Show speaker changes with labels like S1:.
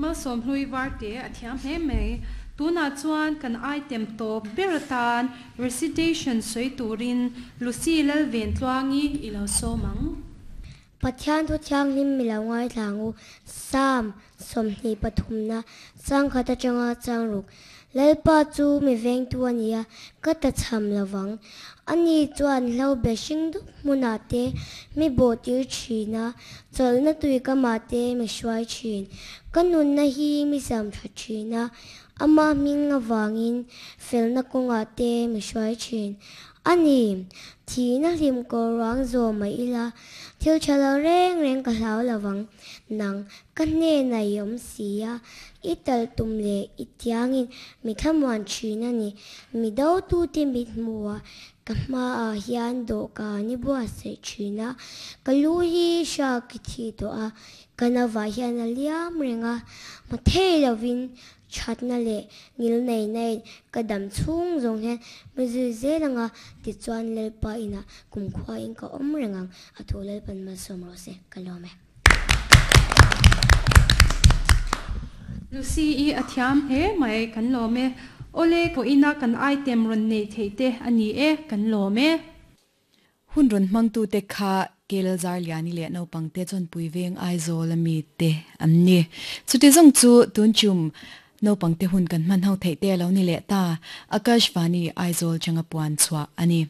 S1: Malsawmhlui Varte a thiam hle mai. Tunah chuan kan item tawp ber atan recitation sawi turin Lucy Lalventluangi i lo sawm ang.
S2: Pathian thu thianghlim mi lo ngaithla ang u, Psalm 23 na changkhat atanga changruk, Lalpa chu mi vengtu a ni a, ka ta chham lo vang. Ani chuan hlo be hring dup hmunah te mi bawhtir thin a, chawlhna tui kamah te mi hruai thin. Ka nunna hi mi zam tha thin a, ama hming avangin felna kawngah te mi hruai thin. A ni, thihna hlim kawr ruang zawh mah ila, thil tha lo reng reng ka hlau lo vang. Nang, ka hnenah i awm si a, i tal tum leh i tiangin mi thlamuan thin a ni. Mi dotute mit hmuhah ka hmaah hian dawhkan i buatsaih thin a, ka lu hi hriak i thih tawh a, ka nauvah hian a liam reng a, hma thei lovin Thatna leh ngilneihnain ka dam chhung zawng hian mi zui zel anga tichuan Lalpa inah kumkhuain ka awm reng ang, a thu Lalpan malsawm rawh se, ka lawm e.
S1: Lucy i a thiam hle mai, kan lawm e. Awle pawhina kan item rawn neih theih te a ni e, kan lawm e.
S3: Hun rawn hmangtute kha Kel Zarliani leh naupangte Chawnpui Veng Aizawl a mite an ni. Chuti zawng chu tun chum naupangte hun kan hman ho theih te a lo ni leh ta. Akashvani Aizawl changa puan chhuah a ni.